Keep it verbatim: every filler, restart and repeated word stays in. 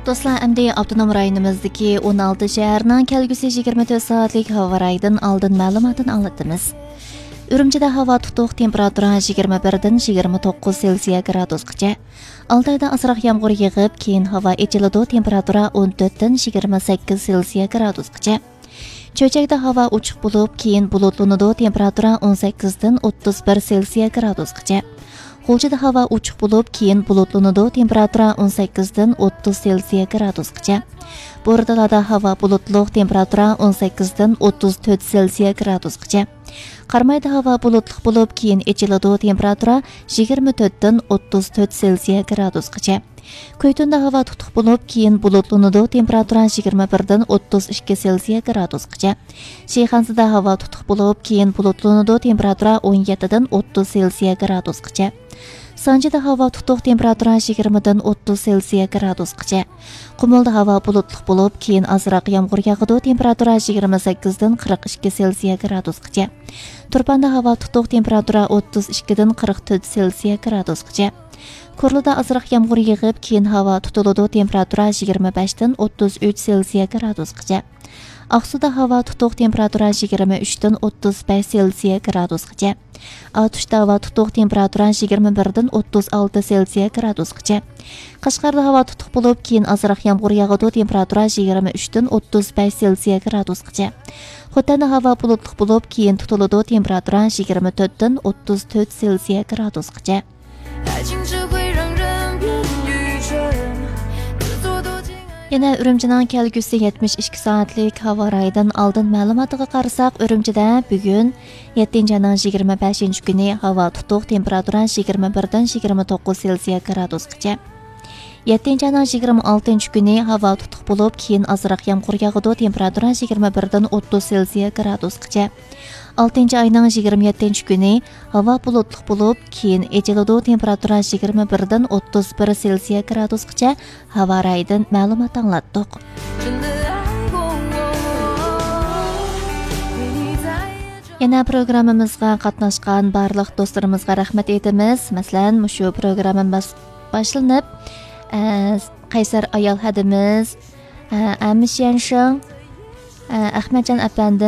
دوستلار، ئەمدى ئاپتونوم رايونىمىزدىكى ئون ئالتە شەھەرنىڭ كەلگۈسى يىگىرمە تۆت سائەتلىك ھاۋا رايىدىن ئالدىن مەلۇماتىنى ئاڭلىتىمىز. ئۈرۈمچىدە ھاۋا تۇتۇق، تېمپېراتۇرا يىگىرمە بىردىن يىگىرمە توققۇز سېلسىيە گرادۇسقىچە. ئالتايدا ئازراق يامغۇر يېغىپ، كېيىن ھاۋا ئېچىلىدۇ، تېمپېراتۇرا ئون تۆتتىن يىگىرمە سەككىز سېلسىيە گرادۇسقىچە. چۆچەكتە ھاۋا ئوچۇق بولۇپ، كېيىن بۇلۇتلىنىدۇ، تېمپېراتۇرا ئون سەككىزدىن ئوتتۇز بىر سېلسىيە گرادۇسقىچە. غۇلجىدا ھاۋا ئوچۇق بولۇپ، كېيىن بۇلۇتلىنىدۇ، تېمپېراتۇرا ئون سەككىزدىن ئوتتۇز سېلسىيە گرادۇسقىچە. بورتالادا ھاۋا بۇلۇتلۇق، تېمپېراتۇرا ئون سەككىزدىن ئوتتۇز تۆت سېلسىيە گرادۇسقىچە. قارامايدا ھاۋا بۇلۇتلۇق بولۇپ، كېيىن ئېچىلىدۇ، تېمپېراتۇرا يىگىرمە تۆتتىن ئوتتۇز تۆت سېلسىيە گرادۇسقىچە. كۈيتۇندا ھاۋا تۇتۇق بولۇپ، كېيىن بۇلۇتلىنىدۇ، تېمپېراتۇرا يىگىرمە بىردىن ئوتتۇز ئىككى سېلسىيە گرادۇسقىچە. شىخەنزىدە ھاۋا تۇتۇق بولۇپ، كېيىن بۇلۇتلىنىدۇ، تېمپېراتۇرا ئون يەتتىدىن ئوتتۇز سېلسىيە گرادۇسقىچە. سانجىدا ھاۋا تۇتۇق، تېمپېراتۇرا يىگىرمىدىن ئوتتۇز سېلسىيە گرادۇسقىچە. قۇمۇلدا ھاۋا بۇلۇتلۇق بولۇپ، كېيىن ئازراق يامغۇر ياغىدۇ، تېمپېراتۇرا يىگىرمە سەككىزدىن قىرىق ئىككى سېلسىيە گرادۇسقىچە. تۇرپاندا ھاۋا تۇتۇق، تېمپېراتۇرا ئوتتۇز ئىككىدىن قىرىق تۆت سېلسىيە گرادۇسقىچە. كورلىدا ئازراق يامغۇر يېغىپ، كېيىن ھاۋا تۇتۇلىدۇ، تېمپېراتۇرا يىگىرمە بەشتىن ئوتتۇز ئۈچ سېلسىيە گرادۇسقىچە. ئاقسۇدا ھاۋا تۇتۇق، تېمپېراتۇرا يىگىرمە ئۈچتىن ئوتتۇز بەش سېلسىيە گرادۇسقىچە. ئاتۇشتا ھاۋا تۇتۇق، تېمپېراتۇرا يىگىرمە بىردىن ئوتتۇز ئالتە سېلسىيە گرادۇسقىچە. قەشقەردە ھاۋا تۇتۇق بولۇپ، كېيىن ئازراق يامغۇر ياغىدۇ، تېمپېراتۇرا يىگىرمە ئۈچتىن ئوتتۇز بەش سېلسىيە گرادۇسقىچە. خوتەندە ھاۋا بۇلۇتلۇق بولۇپ، كېيىن تۇتۇلىدۇ، تېمپېراتۇرا يىگىرمە تۆتتىن ئوتتۇز تۆت سېلسىيە گرادۇسقىچە. يەنە ئۈرۈمچىنىڭ كەلگۈسى يەتمىش ئىككى سائەتلىك ھاۋا رايىدىن ئالدىن مەلۇماتىغا قارىساق، ئۈرۈمچىدە بۈگۈن يەتتىنچى ئاينىڭ يىگىرمە بەشىنچى كۈنى ھاۋا تۇتۇق، تېمپېراتۇرا يىگىرمە بىردىن يىگىرمە توققۇز سېلسىيە گرادۇسقىچە. يەتتىنچى ئاينىڭ يىگىرمە ئالتىنچى كۈنى ھاۋا تۇتۇق بولۇپ، كېيىن ئازراق يامغۇر ياغىدۇ، تېمپېراتۇرا يىگىرمە بىردىن ئوتتۇز سېلسىيە گرادۇسقىچە. ئالتىنچى ئاينىڭ يىگىرمە يەتتىنچى كۈنى ھاۋا بۇلۇتلۇق بولۇپ، كېيىن ئېچىلىدۇ، تېمپېراتۇرا يىگىرمە بىردىن ئوتتۇز بىر سېلسىيە گرادۇسقىچە. ھاۋا رايىدىن مەلۇمات ئاڭلاتتۇق. يەنە پروگراممىمىزغا قاتناشقان بارلىق دوستلىرىمىزغا رەھمەت ئېيتىمىز. مەسىلەن، مۇشۇ پروگراممىمىز باشلىنىپ، ئە، قەيسەر ئايال ھەدىمىز، ئە، ئەمىش يەنشىڭ، ئە، ئەخمەتجان ئەپەندىم،